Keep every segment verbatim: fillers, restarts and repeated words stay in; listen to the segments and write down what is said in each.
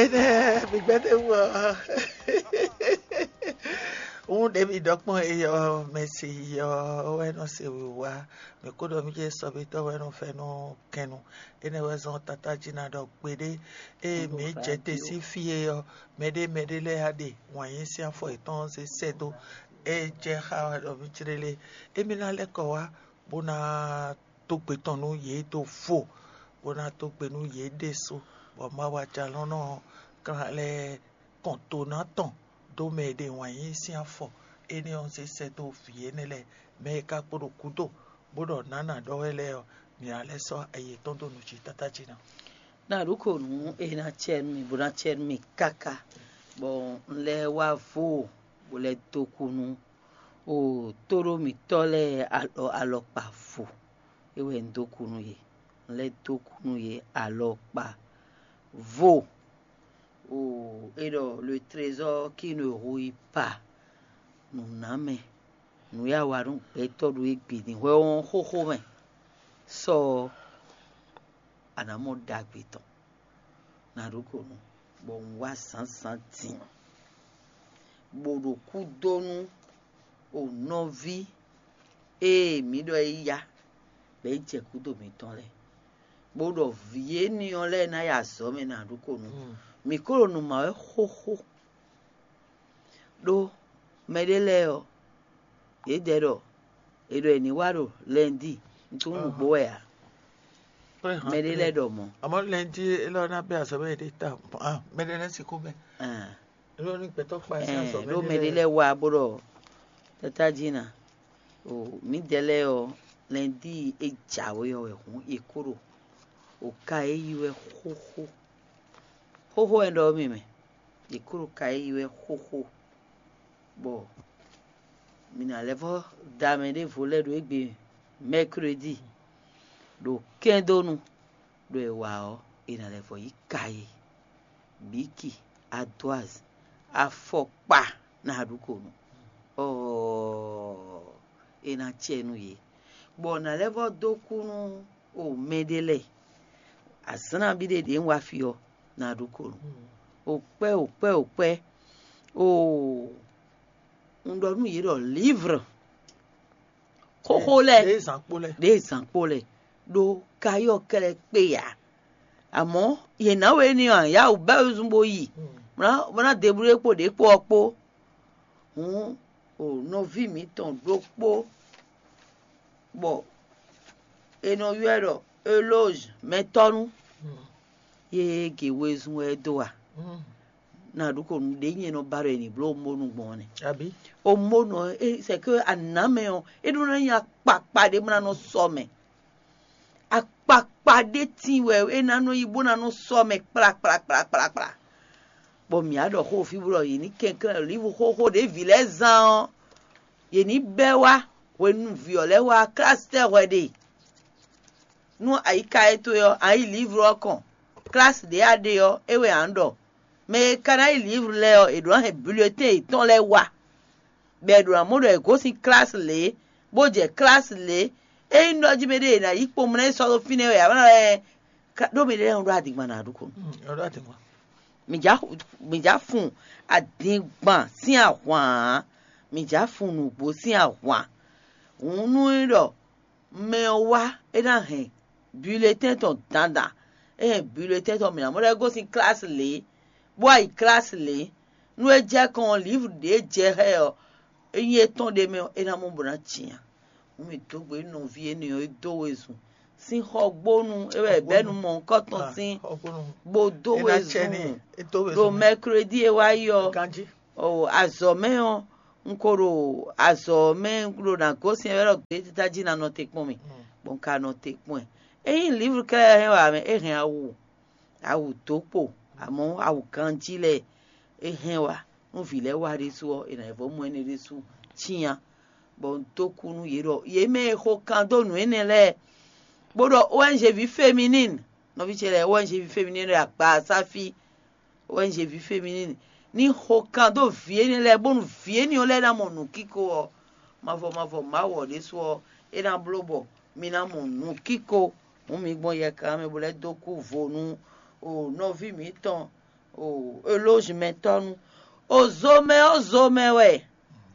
Énɛ́ mi gbɛ́ ɖ'é wú ɔ́. Wún ɖě mi ɖɔ kpɔ́n é ɔ́, mɛ se yi ɔ́ wɛ nɔ se wǐwá. Mǐ kó ɖɔ mì jɛ sɔ́bítɔ́ wɛ nɔ fɛ́nú kɛnnu. Énɛ́ wɛ zɔ́n tátájí ná ɖɔ gbeɖé. Ée mǐ jɛ te sín fí é ɔ́, mɛɖé mɛɖé lɛ́ɛ á ɖe wǎn yí sín afɔ yětɔn zé sɛ́ dó. É jɛ xá wɛ ɖɔ mì jlélé. Émí ná lɛ́ kɔ wá bó ná dó gbe tɔn nú yě dó vo, bó ná dó gbe nú yě ɖésú, bɔ Mawu Ajalɔ̌nlɔn ɔ́ kán lɛ́ kɔn to ná tɔn dó mɛ e ɖe wǎn yí sín afɔ énɛ́ ɔ́ zé sɛ́ dó vǐ énɛ́ lɛ́ɛ, mɛ e ka kpo ɖo gǔdo, bó ɖɔ nǎ nǎ ɖɔ wɛ lɛ́ɛ ɔ́, mǐ ná lɛ́ sɔ́ ayi yětɔn dó nǔ jí tátájí ná. Ná ɖǒ ko nǔ e ná cɛ nú mì, bó ná cɛ nú mì káká, bɔ un lɛ́ wá vo, bó lɛ́ dó kú nú o tóɖó mǐtɔn lɛ́ɛ alɔ alɔkpa vo. É wɛ un dó kú nú yě. Un lɛ́ dó kú nú yě alɔkpa vo. O é ɖɔ le trésor qui ne rouille pas. Nǔnámɛ, nǔ e a wa nú gbɛtɔ́ ɖo égbé din hwɛ ɔ́ xóxó mɛ. Sɔ ɔ́, a nǎ mɔ ɖagbe tɔn. Ná ɖó ko nú, bɔ un wá zǎnzǎn din, bó ɖo kúdónú o nɔví e mǐ ɖɔ é yá, bɔ é jɛ kúdo mǐtɔn lɛ́ɛ, bó ɖɔ vǐ énɛ́ ɔ́ lɛ́ɛ ná yi azɔ̌ mɛ ná ɖó ko nú. Mǐ ko ɖo nǔ ma wɛ xóxó, ɖó mɛɖé lɛ́ɛ ɔ́, yědɛɛ ɖɔ è ɖɔ è nǐ wá ɖo lɛndí, un tunwun nǔgbó wɛ ǎ. Mɛɖé lɛ́ɛ ɖɔ mɔ̌. Àmọ́ lɛndí élɔ́ ná bɛ́ azɔ̌ mɛ ɖé ta. Mɛɖé lɛ́ɛ sixú bɛ́. Élɔ́ ní gbɛtɔ́ kpa sín azɔ̌ mɛ ɖó mɛɖé lɛ́ɛ wá bó ɖɔ tátájí ná, o mǐdɛɛ lɛ́ɛ ɔ́, lɛndí e jǎwe ɔ́ wɛ hǔn è kó ɖo o ka e yí wɛ xóxó. Xóxó wɛ ɖɔ mì mɛ, è kó ɖo ka e yí wɛ xóxó, bɔ mǐ ná lɛ́ vɔ́ da mɛ ɖěvo lɛ́ɛ ɖo égbé mɛkredi, ɖo kɛ́ndónu, ɖo è wa ɔ́, è nǎ lɛ́ vɔ́ yí ka e, bǐki, adwaz, afɔkpa ná ɖu ko nú. Ɔɔ, è nǎ cɛ nú yě, bɔ nǎ lɛ́ vɔ́ dó kú nú o mɛɖé lɛ́ɛ. Azǎn nabí ɖé ɖě un wá fí ɔ́, ná ɖu ko nú. O kpɛ́, o kpɛ́, o kpɛ́, o un ɖɔ nú yě ɖɔ lǐvr xóxó lɛ́ɛ, ɖěe zǎn kpó lɛ́ɛ, ɖěe zǎn kpó lɛ́ɛ, ɖó kayɔ́ kɛlɛ kpé ǎ. Àmọ́ yě ná we ní ɔ́, yá wǔ bɛ́ wezun bó yi, bó ná deblúɖé kpó ɖě kpó ɔ́ kpó. Hǔn o nɔví mǐtɔn ɖokpó, bɔ è nɔ ylɔ́ ɛ ɖɔ Elózh mɛtɔ́nú, yě ge wezun wɛ é dó a? Ná ɖu ko nǔɖé nyɛ nɔ ba ɖɔ è nǐ bló omónu gbɔn ɔ́ nɛ́. Abǐ? Omónu ɔ́, é c'est que anǎmɛ ɔ́, é ɖó ná nyí akpakpa ɖé bó ná nɔ sɔ mɛ. Akpakpa ɖé tíin wɛ é ná nɔ yí bó ná nɔ sɔ mɛ kplakplakplakplakpla. Bɔ mǐ á ɖɔ xó fí bó ɖɔ yě ní kɛnklɛ́n ɖo lívu xóxó ɖě vǐ lɛ́ɛ zán ɔ́, yě ní bɛ́ wá hwenu vǐ ɔ́ lɛ́ɛ wá klásí tɛ́ hwɛ ɖe. Nú ayiká e towe ɔ́, a yi lǐvlu ɔ́ kɔn, klásí ɖě a ɖe ɔ́, é wɛ a nǎ ɖɔ. Mɛ e ka ná yi lǐvlu lɛ́ɛ ɔ́, è ɖǒ ná hɛn bulletɛ́n yětɔn lɛ́ɛ wá, bɔ è ɖǒ ná mɔ ɖɔ è gosín klásí lě, bó jɛ klásí lě. Ényí ɖɔ jí mɛ ɖé è nǎ yí kpomlá yi sɔ́ ɖó fínɛ́ wɛ ǎ, bó ná lɛ́ ɖó mɛ ɖé lɛ́ɛ ɖó adingban ná ɖu ko. Mǐ já fun adingban sín ahwan ǎ, mǐ já fun nǔgbó sín ahwan. Hǔn nú é ɖɔ mɛ ɔ́ wá, é ná hɛn bulletɛ́n tɔn dandan. É hɛn bulletɛ́n tɔn mǐ ná mɔ ɖɔ é gosín klásí lě, bó wá yi klásí lě. Nú é jɛ kɔn ɔ́, lǐvlu ɖě jɛ xá ɛ ɔ́, ényí é tɔ́n ɖ'é mɛ ɔ́, é ná mɔ bó ná cyán. Hǔn mǐ dó gbe nɔví énɛ́ ɔ́ e dó wezun sín xɔgbónu é wɛ è bɛ́ nú mɔ̌hunkɔtɔn sín, bó dó wezun ɖo mɛkredi e wá yi ɔ́. Azɔ̌ mɛ ɔ́, un ko ɖo azɔ̌ mɛ un ɖo ná gosín ɛ wɛ ɖɔ gbětítá jí ná nɔ te kpɔ́n mì, bɔ un ka nɔ te kpɔ́n ɛ. Ényí lǐvlu kɛ́ hɛn wǎ mɛ, é hɛn awu, awu dǒ kpo, amɔ̌ awu ganjí lɛ́ɛ é hɛn wá. Nú vǐ lɛ́ɛ wá ɖésú ɔ́, è nǎ yi vɔ́ mɔ énɛ́ ɖésú cyán, bɔ un dó kú nú yě ɖɔ yě mɛ e xo kan dó nǔ énɛ́ lɛ́ɛ, bó ɖɔ O N G ví féminine, nɔví ce lɛ́ɛ O N G ví féminine ɖo agba sáfí, O N G ví féminine ní xo kan dó vǐ énɛ́ lɛ́ɛ, bónú vǐ énɛ́ ɔ́ lɛ́ɛ ná mɔ nǔkíko ɔ́, mavɔ mavɔ Mawu ɔ́ ɖésú ɔ́, é ná bló bɔ mi ná mɔ nǔkíko. Hǔn mi gbɔn yɛkan mɛ bó lɛ́ dó kú vo nú o nɔví mǐtɔn O elózumɛtɔ́ nu. O zomɛ ɔ́ zomɛ wɛ.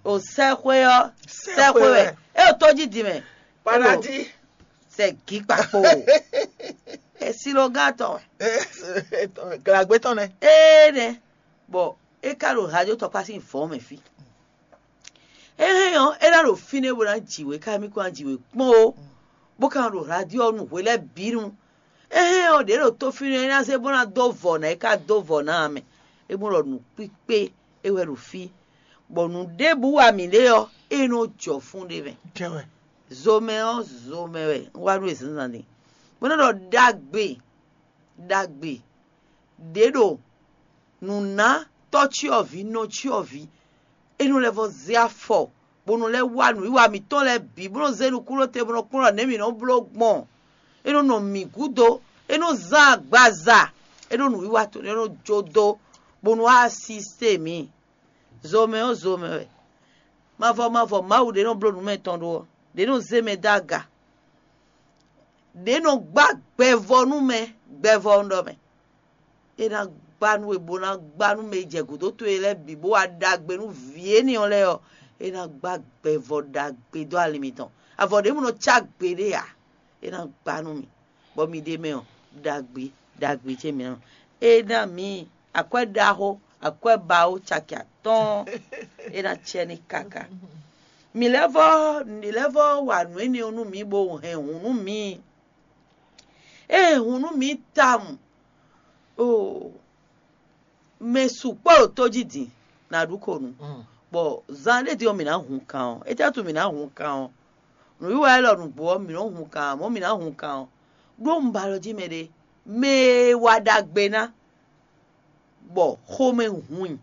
O sɛxwé ɔ́ sɛxwé wɛ. É o tó jí din mɛ. Paradis. Sɛ gǐ kpakpo. Esi ló gán tɔn wɛ. Glagbe tɔn nɛ. Ee nɛ. Bɔ é ka ɖo radio tɔkpá sín vɔ̌ mɛ fí. É hɛn ɔ́, é ná ɖo fínɛ́ bó ná ji wě, ká mì kó ná ji wě kpɔ́n ó, bó ka ná ɖo radio ɔ́ nu hwe lɛ́ɛ bǐ nu. É hɛn ɔ́, ɖě ɖo tó fínɛ́ é ná zé bó ná dó vɔ̌ ná é ká dó vɔ̌ ná ǎ mɛ. É mɔ ɖɔ nǔ kpíkpé é wɛ ɖo fí, bɔ nǔ ɖěbǔ wa mǐ ɖe ɔ́, é nɔ jɔ fún ɖé mɛ. Zomɛ ɔ́, zomɛ wɛ un wá nú e zǎnzǎn din, bó nɔ́ ɖɔ ɖagbe ɖagbe ɖě ɖo nǔ ná tɔ́cyɔvǐ nɔcyɔvǐ, é nɔ lɛ́ vɔ́ zé afɔ, bó nɔ lɛ́ wá nǔwiwa mǐtɔn lɛ́ɛ bǐ, bó nɔ zé nukúnnú te, bó nɔ kplɔ́n ɖɔ nɛ̌ mǐ nɔ bló gbɔn. É nɔ nɔ mǐ gúdo, é nɔ zán agbaza, é nɔ nǔwiwa tɔn, é nɔ jó dó, bó nɔ wá asisté mǐ. Zomɛ ɔ́, zomɛ wɛ. Mavɔ mavɔ Mawu ɖě nɔ bló nǔ mɛ tɔn ɖó ɔ́, ɖě nɔ zé mɛ dó aga, ɖě nɔ gbá gbɛvɔ nú mɛ, gbɛvɔ un ɖɔ mɛ. É ná gbá nú we, bó ná gbá nú mɛ e jɛ gǔdo towe lɛ́ɛ bǐ, bó wá ɖagbe nú vǐ énɛ́ ɔ́ lɛ́ɛ ɔ́, é ná gbá gbɛvɔ ɖagbe dó ali mitɔn. Avɔ ɖěbǔ nɔ cá gbeɖé ǎ, é ná gbá nú mi, bɔ mi ɖ'é mɛ ɔ́, ɖagbe ɖagbe ce mǐ nɔ. É ná mǐ akwɛ́ ɖaxó, akwɛ́ bawo caki atɔ́ɔ́n, é ná cɛ ní káká. Mǐ lɛ́ vɔ́, mǐ lɛ́ vɔ́ wa nǔ énɛ́ ɔ́ nú mǐ, bó hɛn hǔn nú mǐ. É hɛn hǔn nú mǐ tawun. Oo, mɛ sukpɔ́ ɖo tó jí din, nǎ ɖu ko nu. Bɔ zan ɖé din ɔ́, mǐ ná hun kan ɔ́. Étɛ́ wútu mǐ ná hun kan ɔ́? Nǔwiwa élɔ́ nǔgbó ɔ́, mǐ nɔ́ hun kan ǎ, mɔ̌ mǐ ná hun kan ɔ́. Ɖó un ba alɔ jí mɛɖé, mɛ e wa ɖagbe ná, bɔ xomɛ hun i.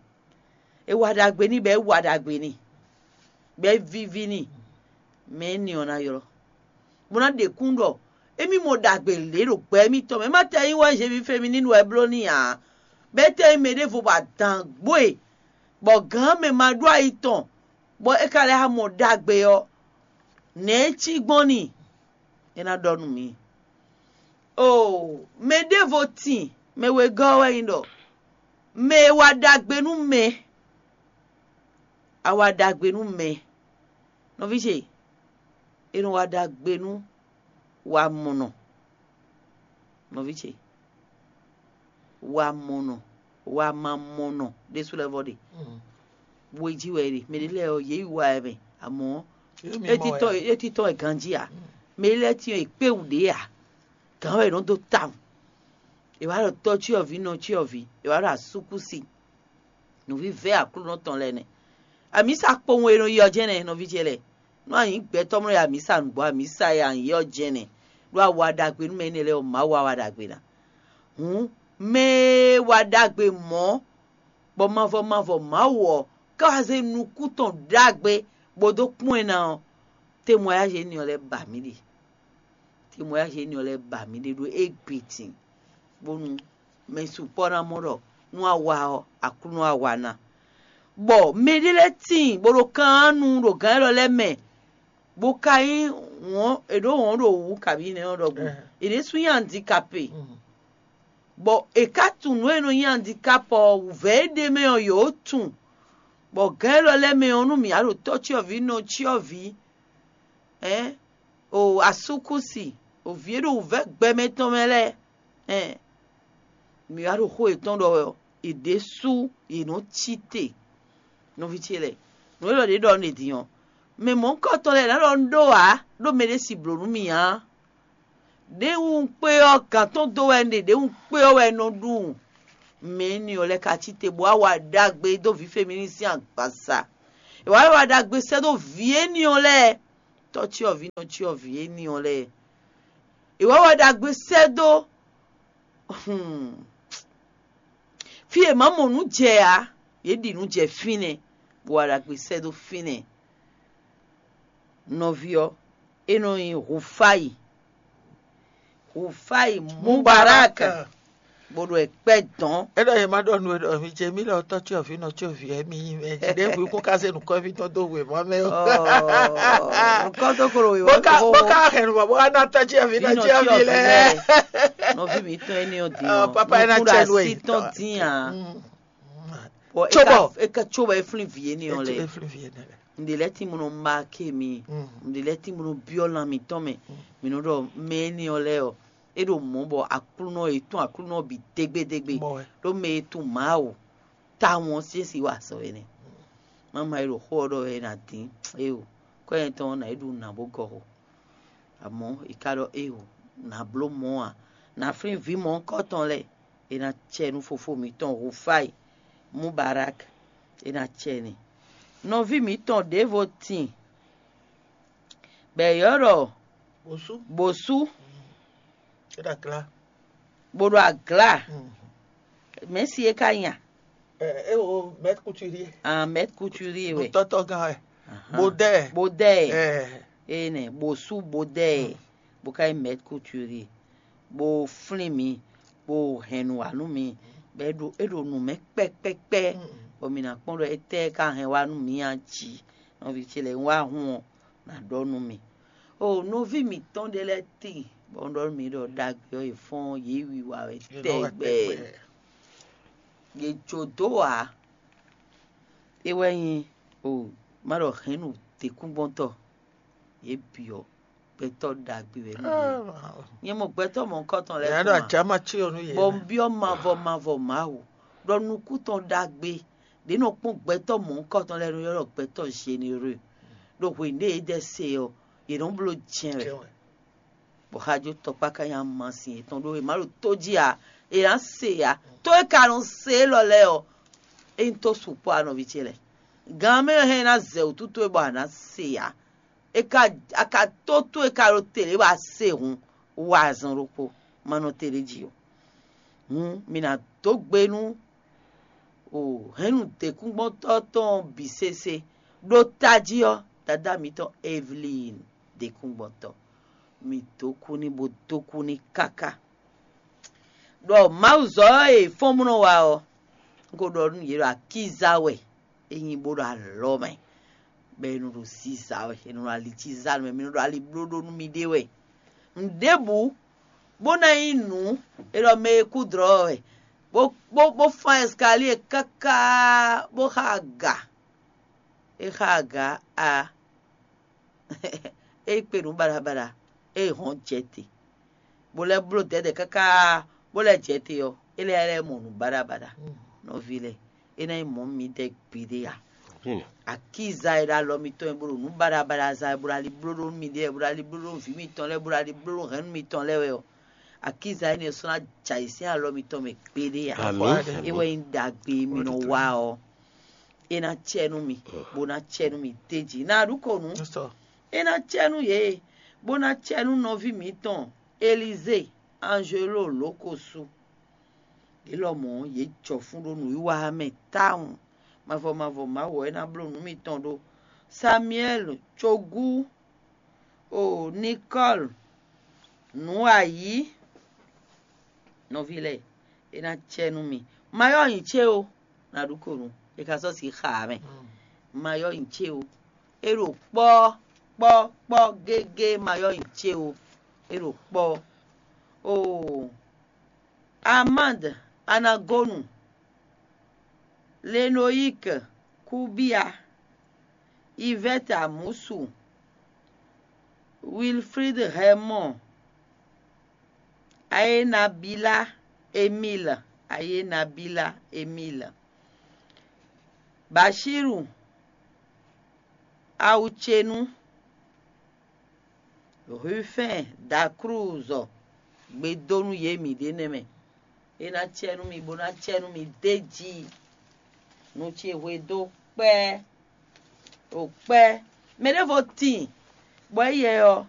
È wa ɖagbe n'i, bɔ é wa ɖagbe n'i, bɔ é víví n'i, mɛ énɛ́ ɔ́ ná ylɔ́, bó ná ɖe kún ɖɔ émí mɔ ɖagbe lě ɖo gbɛ émítɔn mɛ. É má tɛ nyí wɛ Zevi Femininu wɛ bló n'i ǎ, bɔ é tɛ nyí mɛ ɖěvo bɔ adǎn gbo e, bɔ gǎn mɛ ma ɖó ayi tɔn, bɔ é ka lɛ́ mɔ ɖagbe ɔ́, nɛ̌ é cí gbɔn n'i? É ná ɖɔ nú mǐ. Oo, mɛ ɖěvo tin, mɛ wegɔ́ ɔ́ wɛ nyí ɖɔ mɛ e wa ɖagbe nú mɛ, a wa ɖagbe nú mɛ. Nɔví ce, è nɔ wa ɖagbe nú wamɔnɔ. Nɔví ce, wamɔnɔ, wamamɔnɔ ɖésú lɛ́ɛ vɔ ɖe. Wejí wɛ è ɖe. Mɛ ɖé lɛ́ɛ ɔ́, yě yi wa ɛ mɛ, amɔ̌ é títɔn wɛ ganjí ǎ. Mɛ ɖé lɛ́ɛ tín ɔ́, è kpé wǔ ɖě ǎ. Gǎn wɛ è nɔ dó tawun. È wǎ ɖɔ tɔ́ cyɔ́vǐ, nɔ cyɔ́vǐ, è wǎ ɖɔ asúkúsi. Nǔvívɛ́ Aklúnɔ tɔn lɛ́ɛ nɛ́. Amǐsa kpowun e nɔ yi ɔ́ jɛ́n nɛ́, nɔví ce lɛ́ɛ. Nú a nyǐ gbɛtɔ́ mlɔ́ yi amǐsa nǔgbó, amǐsa e a nyǐ ɔ́ jɛ́n nɛ́, ɖó a wa ɖagbe nú mɛ énɛ́ lɛ́ɛ ɔ́, Mawu wá wa ɖagbe ná. Hǔn, mɛ e wa ɖagbe mɔ̌, bɔ mavɔ mavɔ Mawu ɔ́ ká wá zé nukún tɔn ɖagbe bó dó kpɔ́n ɛ ná ɔ́, témoignage énɛ́ ɔ́ lɛ́ɛ ba mǐ ɖe. Témoignage énɛ́ ɔ́ lɛ́ɛ ba mǐ ɖe ɖó égbé din, bónú mɛ sukpɔ́ ná mɔ ɖɔ nú a wa ɔ́, Aklúnɔ a wa ná. Bɔ mɛɖé lɛ́ɛ tíin bó ɖo kan nu ɖo gǎn élɔ́ lɛ́ɛ mɛ, bó ka nyí wɔ̌n è ɖǒ wɔ̌n ɖo wǔ kabǐ nɛ́ ɔ́ ɖɔhun. È ɖésú nyí andikape, bɔ è ka tunwun nǔ e nɔ nyí andikapɔ ɔ́, wǔvɛ́ e ɖ'é mɛ ɔ́, yǒ tunwun. Bɔ gǎn élɔ́ lɛ́ɛ mɛ ɔ́, nú mǐ wá ɖo tɔ́ cyɔ́vǐ, nɔ cyɔ́vǐ, ɛ̌, o asúkúsi, o vǐ e ɖo wǔvɛ́ gbɛmɛ tɔn mɛ lɛ́ɛ, ɛ̌, mǐ wá ɖo xó yětɔn ɖɔ wɛ ɔ́, yě ɖésú yě nɔ cí te. Nɔví ce lɛ́ɛ, nǔ élɔ́ ɖě ɖɔ nú è din ɔ́, mɛ mɔ̌hunkɔtɔn lɛ́ɛ ná ɖɔ un ɖó ǎ, ɖó mɛɖé si blǒ nú mì ǎ. Ɖěwu un kpé ɔ́, gǎn tɔn dó wɛ un ɖe, ɖěwu un kpé ɔ́ wɛ un nɔ ɖu. Mɛ énɛ́ ɔ́ lɛ́ɛ ka cí te bó wá wa ɖagbe dó vǐ Femininu sín agbaza. È wǎ wá wa ɖagbe sɛ́ dó vǐ énɛ́ ɔ́ lɛ́ɛ, tɔ́ cyɔ́vǐ, nɔ cyɔ́vǐ énɛ́ ɔ́ lɛ́ɛ. È wǎ wa ɖagbe sɛ́ dó, hmm, fí e è mǎ mɔ nǔ jɛ ǎ, yě ɖi nǔ jɛ fínɛ́, bó wa ɖagbe sɛ́ dó fínɛ́. Nɔví ɔ́, é nɔ nyí Hufáyi. Hufáyi Mubarak. bó ɖo ɛ kpɛ dɔn. É ɖɔ yě má ɖɔ nú we ɖɔ mi ce mí lɔ tɔ́ cyɔvǐ nɔ cyɔvǐ wɛ mi nyí mɛ. Jí ɖěbǔ kún ka zé nǔkɔ́ví tɔn dó wěma mɛ ó. Nukɔn tó kolo wèwé. Bó ká hɛn nǔ bɔ bó ká ná tɔ́ cyɔvǐ nɔ cyɔvǐ lɛ. Nɔví mi tɔn énɛ́ ɔ́ dín ɔ́, papa é ná cɛ nú ɛ. Tɔn dín ǎ. Bɔ é ká tso bɔ é flín vǐ énɛ́ ɔ́ lɛ. Ŋɖe lɛ́ɛ tín bó nɔ maké mi, ŋɖe lɛ́ɛ tín bó nɔ byɔ́ lan mǐtɔn mɛ. Mǐ nɔ ɖɔ mɛ énɛ́ ɔ́ lɛ́ɛ ɔ́, é ɖo mɔ̌ bɔ Aklúnɔ e tún Aklúnɔ bǐ dégbédégbé, ɖó mɛ e tún Mawu tawun ɔ́ sín si wa azɔ̌ wɛ nɛ́. Mama e ɖo xó ɔ́ ɖɔ wɛ ná dín éo, kɔ́ nyɛ tɔn ná é ɖu nǎ bó gɔ́ xo. Amɔ̌ è ka ɖɔ éo, nǎ bló mɔ̌ ǎ, nǎ flín vǐ mɔ̌hunkɔtɔn lɛ́ɛ, è nǎ cɛ nú fofó mǐtɔn Hufáyi Mubarak, è nǎ cɛ n'i. Nɔví mǐtɔn ɖěvo tin bɔ è ylɔ́ ɖɔ Bosú. Bosú, É ɖo aglá. Bó ɖo aglá. Mɛ̌si é ka nya? Ɛ é o mɛt kuturi. Ah, mɛt kuturi wɛ. Tɔtɔ gán wɛ. Bodɛ. Bodɛ. Ɛ. Ene bosu bodɛ. Bó ka nyí mɛt kuturi. Bó flín mi, bó hɛn nǔ wá nú mi. Bɔ é ɖo é ɖo nǔ mɛ kpɛkpɛkpɛ. Bɔ mi ná kpɔ́n ɖɔ étɛ́ ka hɛn wá nú mi a jí. Nɔví ce lɛ́ɛ wá hun ɔ́, ná ɖɔ nú mi. O nɔví mǐtɔn ɖé lɛ́ɛ tíin, bɔ un ɖɔ nú mi ɖɔ ɖagbe ɔ́, yě fɔ́n yě wiwa wɛ tɛgbɛ. Yě jó dó ǎ. É wɛ nyí o má ɖɔ hɛ̌nnu děkúngbɔ́ntɔ́, yě bǐ ɔ́, gbɛtɔ́ ɖagbe wɛ nú yě. Nyɛ mɔ gbɛtɔ́ mɔ̌hunkɔtɔn lɛ́ɛ. Yě ɖo ajǎma cyɔ nú yě. Bɔ un byɔ́ mavɔ mavɔ Mawu ɖɔ nukún tɔn ɖagbe ɖě nɔ kpɔ́n gbɛtɔ́ mɔ̌hunkɔtɔn lɛ́ɛ nɔ ylɔ́ ɖɔ gbɛtɔ́ généreux. Ɖo hwenu ɖé yě ɖɛ se ɔ́, yě nɔ bló jɛ́n wɛ. Bɔ xajo tɔkpá ka nyi amasin yětɔn ɖó è má ɖo tó jí ǎ, è nǎ se ǎ. Tó e ka nɔ se élɔ́ lɛ́ɛ ɔ́, é nyí tó sukpɔ́ ǎ nɔví ce lɛ́ɛ. Gan mɛ hɛn ná zɛ wǔtú towe bɔ a nǎ se ǎ. È ka a ka tó tó e ka ɖo te lě bɔ a se hǔn, wa azɔn ɖokpó, ma nɔ te ɖ'é jí ó. Hǔn mi ná dó gbe nú o hɛ̌nnu děkúngbɔ́ntɔ́ tɔn bǐ sésé. Ɖó tají ɔ́, dadá mitɔn Evelyn děkúngbɔ́ntɔ́, mi dó kú n'i bó dó kú n'i káká. Ɖɔ Mawuzɔ́ e fɔ́n bó nɔ wa ɔ́, un ko ɖɔ nú yě ɖɔ akíza wɛ é nyí bó ɖo alɔ mɛ, bɔ è nɔ ɖo ziza wɛ, è nɔ ɖo ali cí za nú mɛ, mi nɔ ɖo ali bló ɖó nú miɖée wɛ. Nǔɖébǔ bó ná nyí nǔ e ɖɔ mɛ e kú dlɔ̌ wɛ, bó bó bó fán ɛskalíe káká bó xa aga. É xa aga a é kpe nǔ baɖabaɖa, é hɔn jɛ te, bó lɛ́ bló dɛ̌dɛ̌ káká bó lɛ́ jɛ te ɔ́, é lɛ́ lɛ́ mɔ nǔ baɖabaɖa. Nɔví lɛ́ɛ, é ná nyí mɔ̌ mi dɛ́ gbeɖé a? Akíza e ɖo alɔ mitɔn e bó ɖo nǔ baɖabaɖa za wɛ, bó ɖo ali bló ɖó nú miɖée wɛ, bó ɖo ali bló ɖó nú vǐ mitɔn lɛ́ɛ, bó ɖo ali bló ɖó hɛ̌nnu mitɔn lɛ́ɛ wɛ ɔ́, akíza énɛ́ ɔ́ sɔ́ ná jɛ ayǐ sín alɔ mitɔn mɛ gbeɖé a? Amǐ. É wɛ nyí ɖagbe e mi nɔ wa ɔ́, é ná cɛ nú mi, bó ná cɛ nú mi d'é jí. Ná ɖu ko nǔ. É ná cɛ nú yě, bó ná cɛ nú nɔví mǐtɔn Elizée Anjelo Lǒkosu. Yě lɔmɔ̌ yě jɔ fún ɖó nǔwiwa mɛ tawun. Mavɔ mavɔ Mawu ɔ́, é ná bló nǔ mitɔn ɖó. Samuɛ́li cogú o Nikɔ́li nǔ ayǐ nɔví lɛ́ɛ, é ná cɛ nú mi. Ma yɔ́ nyi ce ó, ná ɖu ko nú è ka sɔ́ si xa ǎ mɛ. Ma yɔ́ nyi ce ó, é ɖo kpɔ́ kpɔ́ kpɔ́ gégé, ma yɔ́ nyi ce ó, é ɖo kpɔ́. Oo, Amande Anagonu, Lenoyik Kubia, Ivɛ́ti Amusu, Wilfrid Hɛmɔ, Ayenabila Emil, Ayenabila Emil, Bashiru Awucenu, Rufɛ́n Daklúzɔ gbe dó nú yě mǐɖée nɛ́ mɛ. É ná cɛ nú mi, bó ná cɛ nú mi d'é jí. Nu ce hwe dó kpɛ́, ɖo kpɛ́. Mɛ ɖěvo tíin, bɔ éyɛ́ ɔ́,